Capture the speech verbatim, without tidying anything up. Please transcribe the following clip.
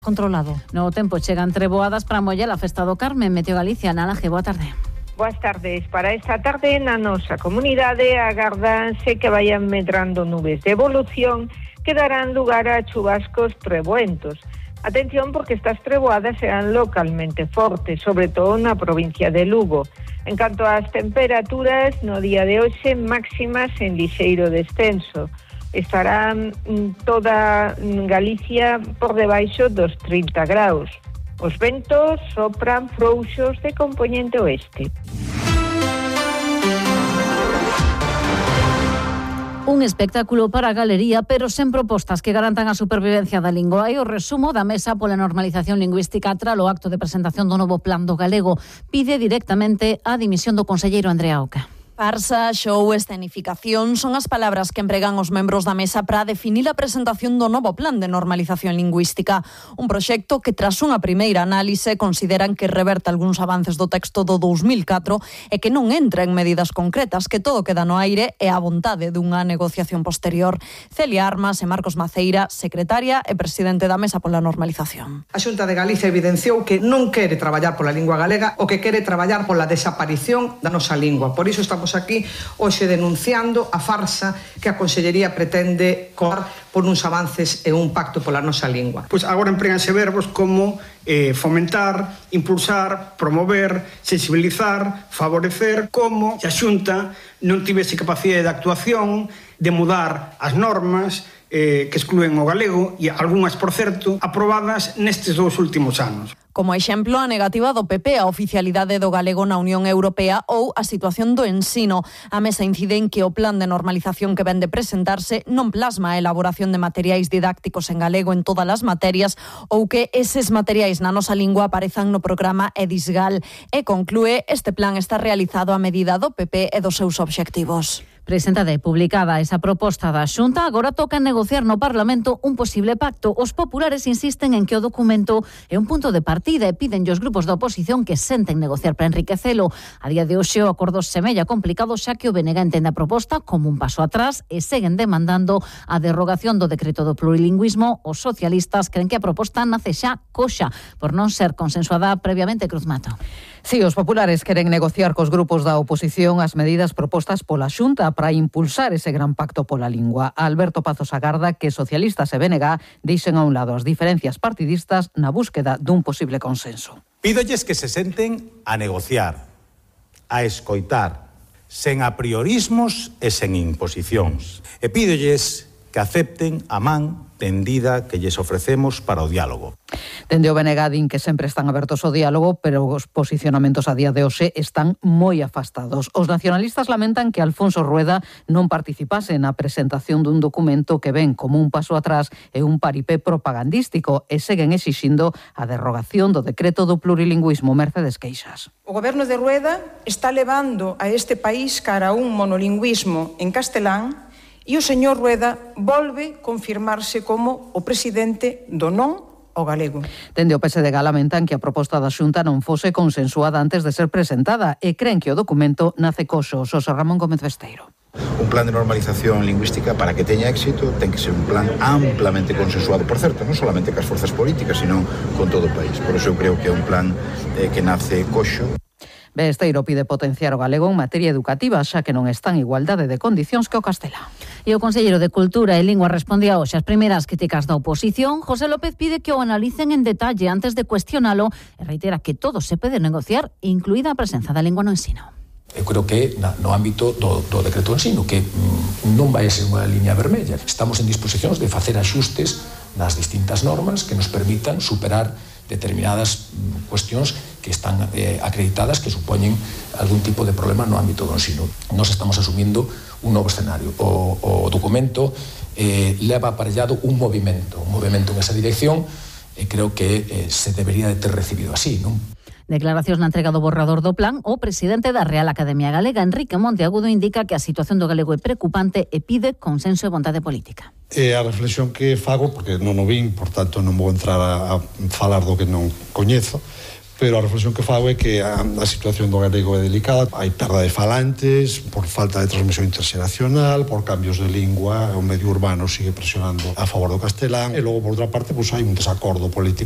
Controlado. No tempo chegan treboadas para moller a festa do Carmen. Meteo Galicia, Nalaje, boa tarde. Boas tardes. Para esta tarde na nosa comunidade agárdanse que vayan medrando nubes de evolución que darán lugar a chubascos treboentos. Atención porque estas treboadas serán localmente fortes, sobre todo na provincia de Lugo. En canto ás temperaturas, no día de hoxe máximas en lixeiro descenso. Estará toda Galicia por debaixo dos trinta graus. Os ventos sopran frouxos de compoñente oeste. Un espectáculo para a galería, pero sen propostas que garantan a supervivencia da lingua. E o resumo da Mesa pola Normalización Lingüística tras o acto de presentación do novo Plan do Galego. Pide directamente a dimisión do conselleiro Andrea Oca. Farsa, show, escenificación son as palabras que empregan os membros da Mesa para definir a presentación do novo Plan de Normalización Lingüística. Un proxecto que, tras unha primeira análise, consideran que reverte algúns avances do texto do dous mil catro e que non entra en medidas concretas, que todo queda no aire e a vontade dunha negociación posterior. Celia Armas e Marcos Maceira, secretaria e presidente da Mesa pola Normalización. A Xunta de Galicia evidenciou que non quere traballar pola lingua galega o que quere traballar pola desaparición da nosa lingua. Por iso estamos aquí hoxe denunciando a farsa que a Consellería pretende coar por uns avances e un pacto pola nosa lingua. Pois agora empréganse verbos como eh, fomentar, impulsar, promover, sensibilizar, favorecer, como se a Xunta non tivese capacidade de actuación, de mudar as normas eh, que excluen o galego, e algunhas, por certo, aprobadas nestes dous últimos anos. Como exemplo, a negativa do P P a oficialidade do galego na Unión Europea ou a situación do ensino. A Mesa incide en que o plan de normalización que ven de presentarse non plasma a elaboración de materiais didácticos en galego en todas as materias ou que eses materiais na nosa lingua aparezan no programa Edisgal. E conclúe, este plan está realizado a medida do P P e dos seus obxectivos. Presentada e publicada esa proposta da Xunta, agora toca negociar no Parlamento un posible pacto. Os populares insisten en que o documento é un punto de partida e piden aos grupos da oposición que senten negociar para enriquecelo. A día de hoxe o acordo semella complicado xa que o B N G entende a proposta como un paso atrás e seguen demandando a derrogación do decreto do plurilingüismo. Os socialistas creen que a proposta nace xa coxa por non ser consensuada previamente. Cruz Mato. Si, os populares queren negociar cos grupos da oposición as medidas propostas pola Xunta para impulsar ese gran pacto pola lingua. Alberto Pazos agarda que socialistas e B N G deixen a un lado as diferencias partidistas na búsqueda dun posible consenso. Pídolles que se senten a negociar, a escoitar, sen apriorismos e sen imposicións. E pídolles que acepten a man tendida que lles ofrecemos para o diálogo. Dende o B N G din que sempre están abertos ao diálogo, pero os posicionamentos a día de hoxe están moi afastados. Os nacionalistas lamentan que Alfonso Rueda non participase na presentación dun documento que ven como un paso atrás e un paripé propagandístico e seguen exixindo a derrogación do decreto do plurilingüismo. Mercedes Queixas. O goberno de Rueda está levando a este país cara a un monolingüismo en castelán e o señor Rueda volve confirmarse como o presidente do non ao galego. Dende o P S D G lamentan que a proposta da Xunta non fose consensuada antes de ser presentada e creen que o documento nace coxo. Xosé Ramón Gómez Besteiro. Un plan de normalización lingüística, para que teña éxito, ten que ser un plan amplamente consensuado, por certo, non solamente cas forzas políticas, sino con todo o país. Por iso eu creo que é un plan eh, que nace coxo. Besteiro pide potenciar o galego en materia educativa, xa que non está en igualdade de condicións que o castelán. E o conselleiro de Cultura e Lingua respondía hoxe as primeiras críticas da oposición. José López pide que o analicen en detalle antes de cuestionalo e reitera que todo se pode negociar, incluída a presenza da lingua no ensino. Eu creo que na, no ámbito do, do decreto de ensino, que mm, non vai ser unha liña vermella. Estamos en disposicións de facer axustes nas distintas normas que nos permitan superar determinadas cuestións que están eh, acreditadas que supoñen algún tipo de problema no ámbito do ensino. Nos estamos asumindo un novo escenario. O, o documento eh, leva aparellado un movimento, un movimento en esa dirección e creo que eh, se debería de ter recibido así, non? Declaracións na entrega do borrador do plan, o presidente da Real Academia Galega, Enrique Monteagudo, indica que a situación do galego é preocupante e pide consenso e vontade política. É a reflexión que fago, porque non o vin, por tanto non vou entrar a, a falar do que non coñezo, pero a reflexión que fago é que a, a situación do galego é delicada, hai perda de falantes por falta de transmisión interxeracional, por cambios de lingua, o medio urbano sigue presionando a favor do castelán, e logo, por outra parte, pues, hai un desacordo político